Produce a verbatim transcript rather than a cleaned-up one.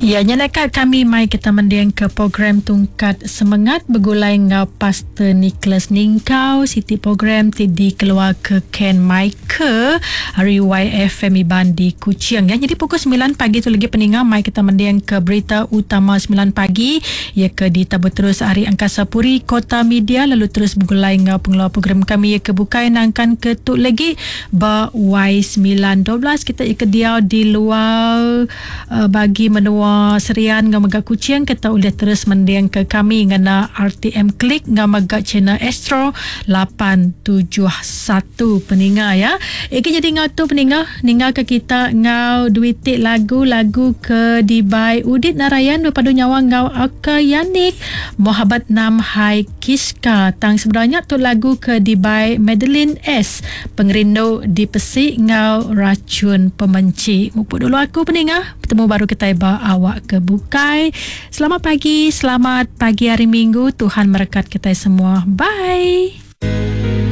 Ya, nyeleka kami mai kita mending ke program Tungkat Semengat begulai ngau Pastor Nicholas Ningkau, siti program ti dikeluar ke Ken Michael hari Y F M Iban di Kuching. Ya, jadi pukul sembilan pagi tu lagi peninga mai kita mending ke berita utama sembilan pagi ya ke ditabur terus hari Angkasa Puri Kota Media, lalu terus begulai ngau pengeluar program kami ya ke bukai nangkan ke tu lagi ba Y sembilan dua belas kita ikut dia di luar uh, bagi menua Serian ngau mega Kuching, kita boleh terus mending ke kami ngena R T M Klik ngau mega channel Astro lapan tujuh satu peninga ya. Eki jadi ngau tu peninga ninggal ke kita ngau duitik lagu-lagu ke dibai Udit Narayan berpadu nyawa ngau Aka Yanik Mohabat Nam Hai Kiska. Tang sebenarnya tu lagu ke dibai Madeline S Pengerindu Dipesik ngau Racun Pemenci. Mupuk dulu aku peninga, bertemu baru kita ba awak ke bukai. Selamat pagi, selamat pagi hari Minggu. Tuhan merekat kita semua. Bye.